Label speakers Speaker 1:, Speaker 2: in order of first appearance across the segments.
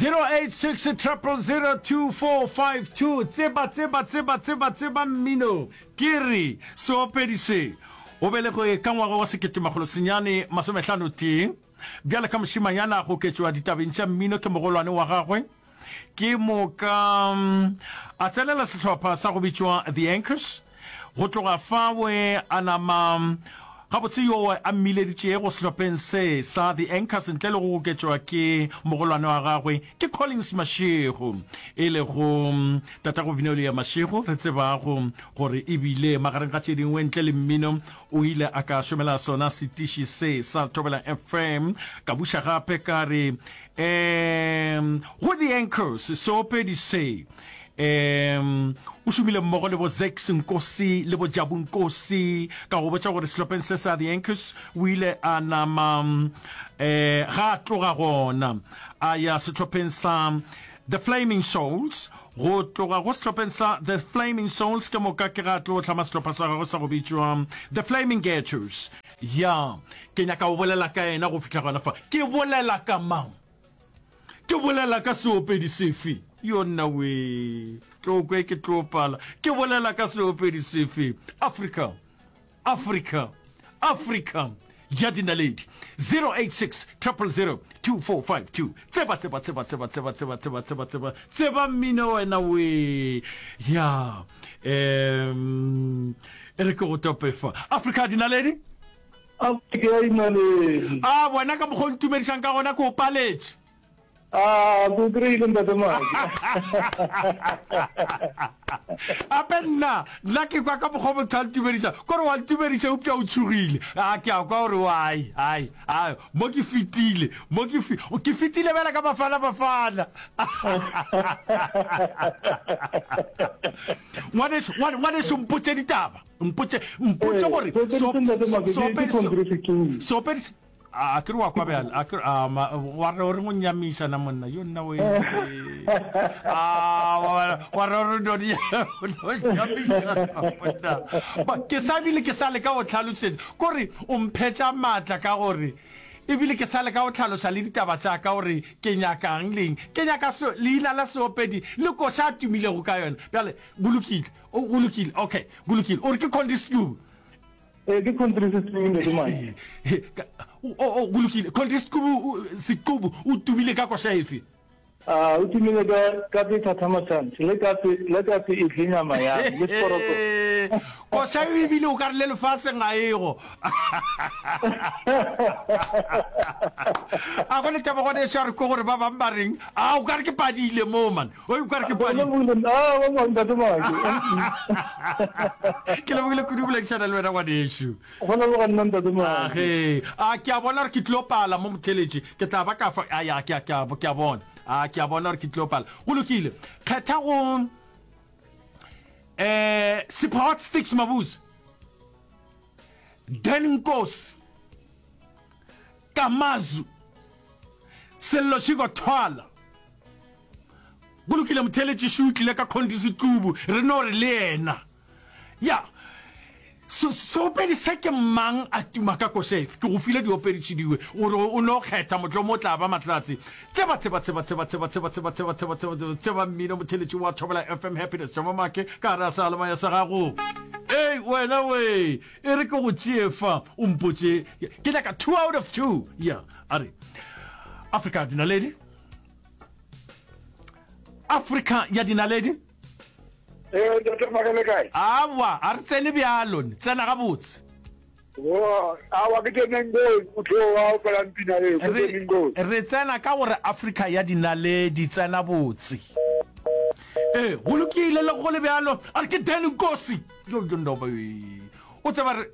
Speaker 1: 086 000 2452 Tseba, tseba, tseba, tseba, tseba mmino. Ke re, seopedi se, o belegwe ka ngwaga wa 1951, bjale ka mošemanyana a goketšwa ditabeng tša mmino ke mogolwane wa gagwe, Ke moka a tsenela sehlopha sa go bitšwa The Anchors. Go tloga fawe a nama gabotse yoo a mmileditšego sehlopheng se sa The Anchors ntle le go goketšwa ke mogolwane wa gagwe ke Collins Mashego, e lego tatago Vinolia Mashego re tsebago gore e bile magareng ga tše dingwe ntle le mmino o ile a ka šomela sona setiši se sa Thobela FM. Ka buša gape ka re Um go The Anchors, seopedi se um o šomile mmogo le bo Zakes Nkosi le bo Jabu Nkosi. Ka go botša gore sehlopheng se sa The Anchors o ile a nama um ga a tloga gona a ya sehlopheng sa The Flaming Souls. Go tloga go sehlopheng sa The Flaming Souls ke moka ke ga a tlo hlama sehlopha sa gagwe sa go bitšwa The Flaming Ghettos. Ya, ke nyaka go bolela ka yena go fihla gona fa. Ke bolela ka mang? Ke bolela ka seopedi sefe? Yo nna wee, tlo kwe ke tlo pala. Ke bolela ka seopedi sefe? Afrika, Afrika, Afrika ya dinaledi. 086 000 2452. Tseba, tseba, tseba, tseba, tseba, tseba, tseba, tseba, tseba, tseba mmino wena wee. Ya, um E re ke go tope fa. Afrika dinaledi.
Speaker 2: Afrika ya dinaledi.
Speaker 1: A wena ka mokgwa o ntumedišang ka gona ke o paletše.
Speaker 2: A ke o kry-ile ntate Maki.
Speaker 1: Ape nna nna ke kwa ka mokgwa motho a ntumediša kore wa ntumediša eupša o tshogile. A ke a kwa gore ai ai ai mo ke fetile mo ke fi ke fetile bjale ka Bafana Bafana. Ngwaneso, ngwane, ngwaneso, mpotše ditaba. Mpotše, mpotše
Speaker 2: Ee,
Speaker 1: gore
Speaker 2: seopedi
Speaker 1: so,
Speaker 2: se Ntate Make, ke-
Speaker 1: seopedi
Speaker 2: ke
Speaker 1: se,
Speaker 2: Congress Setulo.
Speaker 1: seopedi se, a ke re wa kwa bjale, a ke re, a ma, wa re o reng o nnyamiša na monna, yo nna we, a wa, wa re o re no di, no nnyamiša na monna. Ba, ke sa bile ke sa leka go hlalosetša, kore o mphetša maatla ka gore, Ebile ke sa leka go hlaloša le ditaba tša ka gore ke nyakang le eng. Ke nyaka se, leina la seopedi le koša a tumilego ka yona. Bjale, go lokile. O, go lokile. Okay, go lokile. O re ke Condi Setubu?
Speaker 2: Ee, ke Condi Setubu, Ntate Mike.
Speaker 1: O, o, go lokile. Condi Setubu, Setubu o tumile ka koša efe?
Speaker 2: A o tumile ka katse thatha masanthe le katse le katse e tle nyama ya me le seporoko.
Speaker 1: Koša eo ebile o ka re le lefaseng ga ego. A go le taba gone eso a re kwe gore ba bang ba reng. A o ka re ke padile mo man. O o ka re ke padile.
Speaker 2: A ba bang ntate Maki.
Speaker 1: Ke lebogile kudu boledišana le wena ngwanešu.
Speaker 2: Go leboga nna Ntate Moagi.
Speaker 1: Age, a ke a bona gore ke tlilo pala mo motheletši. Ke tla ba ka fa, a ya, ke a, ke a, ke a bona. A ke a bona gore ke tlilo pala. Go lokile. Kgetha go, eh, Sipho Hot Sticks Mabuse. Dan Nkosi. Kamazu. Sello Shiko Thwala. Go lokile motheletši šo o tlile ka Khondi Setlubu. Re no re le yena. Ya. Se, seopedi se ke mang a tuma ka koša efe? Ke go file diopedi tše dingwe, gore o no kgetha, mohlomongwe o tla ba mahlatse. Tseba, tseba, tseba, tseba, tseba, tseba, tseba, tseba, tseba, tseba, tseba, tseba mmino, motheletši wa Thobela FM Happiness, Jama Make, ka gare ga seyalemoya sa gago. Ei, wena we, e re ke go tšee fa, o mpotše. Ke nyaka 2 out of 2. Ya, a re, Afrika dinaledi. Afrika ya dinaledi.
Speaker 3: Ee, Ntate Maka le kae?
Speaker 1: Awa, a re tsene bjalo, tsena gabotse.
Speaker 3: Awa, ke Tene Ngozi, motho o a opelang pina eo, ke Tene Ngozi.
Speaker 1: Re tsena ka gore Afrika ya dinaledi, tsena botse. Ee, go lokile le go le bjalo, a re ke Dan Nkosi. Yo, yo, no, o tseba re,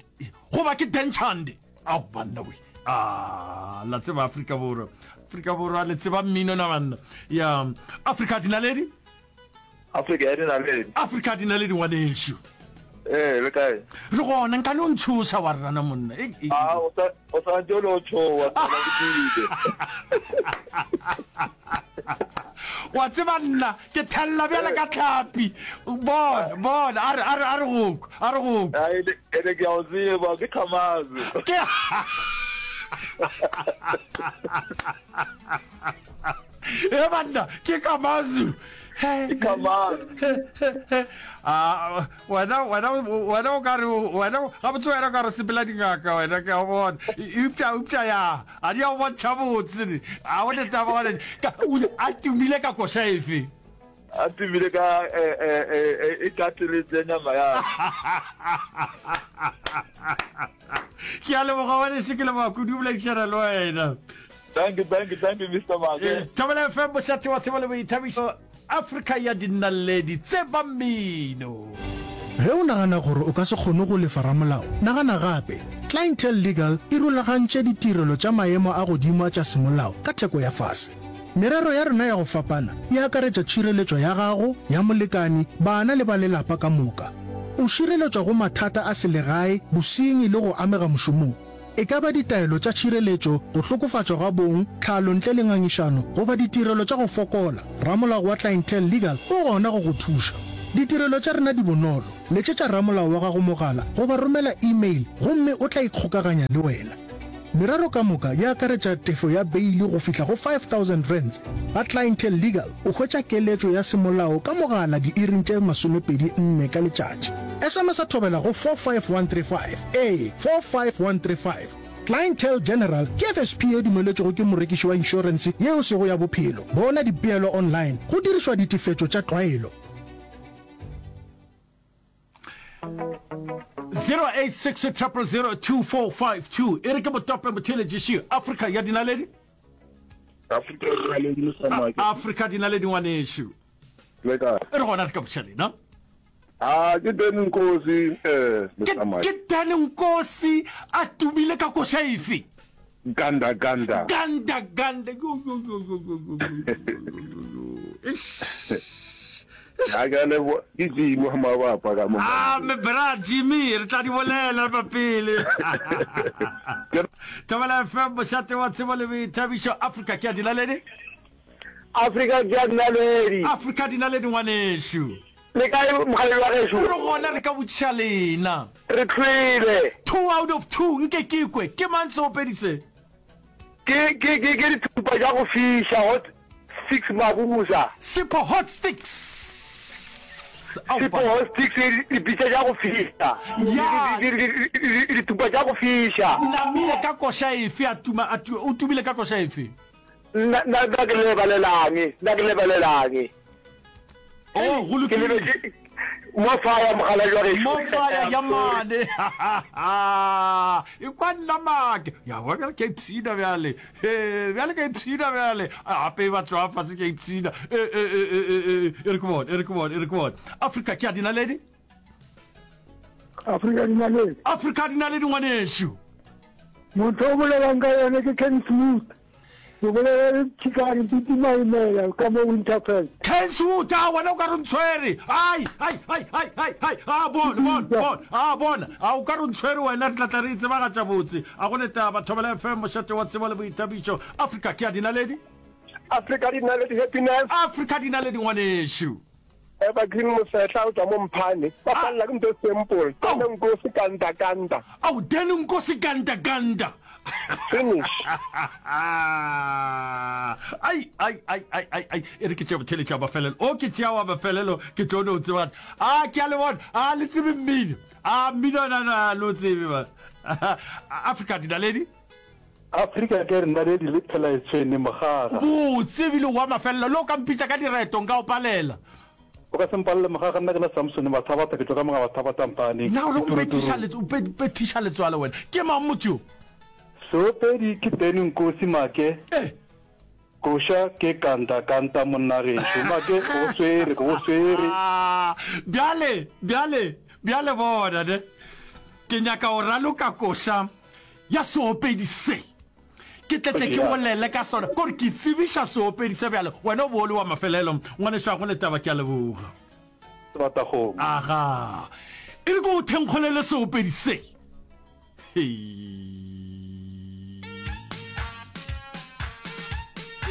Speaker 1: goba ke Dan Chande. Ao, banna we. Ah, la tseba Afrika Borwa. Afrika Borwa, le tseba mmino na banna. Ya, Afrika dinaledi.
Speaker 3: Afrika ya dinaledi.
Speaker 1: Afrika ya dinaledi ngwanešu.
Speaker 3: Ee, le kae?
Speaker 1: Re gona, nka no ntshoša wa rena monna. E, e,
Speaker 3: A o sa o sa ntse o le o tshowa tsela ke tsile.
Speaker 1: Wa tseba nna ke thella bjale ka tlhapi. Bona, bona, a re a re a re go kwa, a re go kwa.
Speaker 3: A ene ene ke a o tseba ke Khamazo.
Speaker 1: Ke. E banna, ke Kamazu.
Speaker 3: Ke Kamazu.
Speaker 1: Ah, wena wena wena o ka re wena gabotse wena o ka re sepela dingaka wena ke a bona. Eupša eupša ya a di a go bontšha botse. A o le taba gona a tumile ka koša efe?
Speaker 3: A tumile ka e e e e kateletse nyama ya.
Speaker 1: Ke a leboga ngwanešu, ke leboga kudu go boledišana le wena.
Speaker 3: Thank you, thank you, thank you, Mr. Make.
Speaker 1: Thobela FM, mošate wa tsebo le boithabišo, Afrika ya dinaledi, tseba mmino.
Speaker 4: Ge o nagana gore o ka se kgone go lefa ramolao, nagana gape. Clientele Legal e rulagantše ditirelo tša maemo a godimo a tša semolao ka theko ya fase. Merero ya rena ya go fapana e akaretša tšhireletšo ya gago, ya molekani, bana le ba lelapa ka moka. O šireletšwa go mathata a selegae, bosenyi le go amega mošomong. E ka ba ditaelo tša tšhireletšo, go hlokofatšwa ga bong, tlhalo ntle le ngangišano goba ditirelo tša go fokola, ramolao wa Clientele Legal o gona go go thuša. Ditirelo tša rena di bonolo, letšetša ramolao wa gago mogala goba romela e-mail gomme o tla ikgokaganya le wena. Merero ka moka e akaretša tefo ya beili go fihla go R5000. Ga Clientele Legal o hwetša keletšo ya semolao ka mogala diiring tše 24 ka letšatši. SMS-a thobela go 45135, ee, 45135. Clientele General ke FSP ye dumeletšwego ke morekiši wa inšorense ye e sego ya bophelo. Bona dipeelo online go dirišwa ditefetšo tša tlwaelo.
Speaker 1: 086 000 2452 e re ke motope motheeletši Afrika ya dinaledi.
Speaker 5: Afrika ya dinaledi Mr. Make.
Speaker 1: Afrika dinaledi ngwanešu.
Speaker 5: Le kae?
Speaker 1: Re gona re ka botša lena.
Speaker 5: Ah, ke Dan Nkosi eh Mr. Mike.
Speaker 1: Ke Dan Nkosi a tumile ka koša efe?
Speaker 5: Ganda ganda.
Speaker 1: Ganda ganda. Yo yo yo yo yo yo. Eish.
Speaker 5: A ke a leboga. Ke Jimmy wa mabapa ka mo.
Speaker 1: Ah, me bra Jimmy, re tla di bolela ba pele. Thobela FM, mošate wa tsebo le boithabišo, Afrika ke ya dinaledi.
Speaker 3: Afrika ke ya dinaledi.
Speaker 1: Afrika dinaledi ngwanešu.
Speaker 3: Le kae mokgalabje wa gešo?
Speaker 1: Re gona re ka botšiša lena.
Speaker 3: Re hlwele.
Speaker 1: Two out of two, nke ke kwe. Ke mang seopedi se?
Speaker 3: Ke, ke, ke, ke dithupa tša go fiša, hot sticks Mabuza.
Speaker 1: Sipho hot sticks.
Speaker 3: Sipho hot sticks, dipitša tša go fiša.
Speaker 1: Ya.
Speaker 3: Dithupa tša go fiša.
Speaker 1: Namile ka koša efe a tuma, a tu, o tumile ka koša efe?
Speaker 3: Nna, nna, nna ke lebalelange, nna ke lebalelange.
Speaker 1: Oh, go
Speaker 3: Ke
Speaker 1: lokile.
Speaker 3: lebetše mo fire mogala jwa gešo.
Speaker 1: Mo fire ya mane. E kwa nna make. Ya wa bjale ke a ipshina bjale. He, bjale ke a ipshina bjale. Gape ba tloga fase ke a ipshina. E e e e e e e re ke bone, e re ke bone, e re ke bone. Afrika ke a dinaledi.
Speaker 6: Afrika dinaledi.
Speaker 1: Afrika dinaledi ngwanešu.
Speaker 6: Motho o bolelang ka yone ke Ken Smooth. Ke bolela le Thikane Piti Maimela ka mo Winterfell.
Speaker 1: Kenswood, a wena o ka re o ntshwere. Ai, ai, ai, ai, ai, ai, a bona, bona, bona, a bona, a o ka re o ntshwere wena, re tla tla re e tsebagatša botse. A go ne taba, Thobela FM, mošate wa tsebo le boithabišo. Afrika ke ya dinaledi.
Speaker 3: Afrika dinaledi happiness.
Speaker 1: Afrika dinaledi ngwanešu.
Speaker 3: Evergreen Mosehla o tšwa mo Mphane. Ba palela ke ntho e simple. Dan Nkosi kanta kanta.
Speaker 1: Ao Dan Nkosi kanta kanta.
Speaker 3: Finish.
Speaker 1: Ai ai ai ai ai ai e re ke tšea botheletša wa mafelelo. O ke tšea wa mafelelo ke tlo no tseba. A ke a le bona. A le tsebe mmino. A mmino na na lo tsebe ba. Afrika dinaledi.
Speaker 2: Afrika ke re naledi le phela e tshwene mogaga.
Speaker 1: Botse ebile wa mafelelo le o ka mpitša ka direto nka o palela.
Speaker 2: O ka se mpalele mogaga nna ke na Samsone Mathabatha ke tšwa ka moga Mathabatha Mpane.
Speaker 1: Na o re o mpethiša o mpethiša letswalo wena ke mang motho yo?
Speaker 2: Seopedi ke Ben Nkosi Make.
Speaker 1: Eh.
Speaker 2: Koša ke kanta kanta monna gešo Make ke go swere ke go swere.
Speaker 1: Bjale bjale bjale bona ne ke nyaka o raloka koša ya seopedi se. Ke tle tle ke bolele ka sona, kore ke tsebiša seopedi se bjale. Wena o bo o le wa mafelelo, ngwanešu, ga go le taba, ke a leboga.
Speaker 2: Sebatakgomo.
Speaker 1: Aga, e re ke o thenkgolele seopedi se. Hei.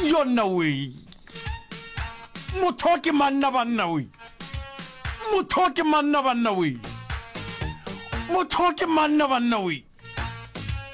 Speaker 1: Yonna wee. Motho ke manna banna wee. Motho ke manna banna wee. Motho ke manna banna wee.